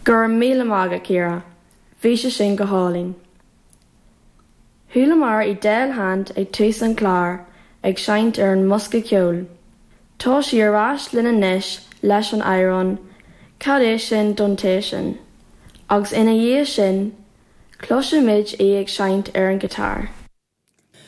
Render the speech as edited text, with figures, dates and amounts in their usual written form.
Go raibh míle maith agat, Ciara. Bhí sé sin go hálainn. Chualamar Edel Hand ag tús an chláir ag seinnt ar an mbosca ceoil. Tá sí ar ais linn anois leis an amhrán 'Cad é sin don té sin? agus ina dhiaidh sin, cloisfimid í ag seinnt ar an ghiotár.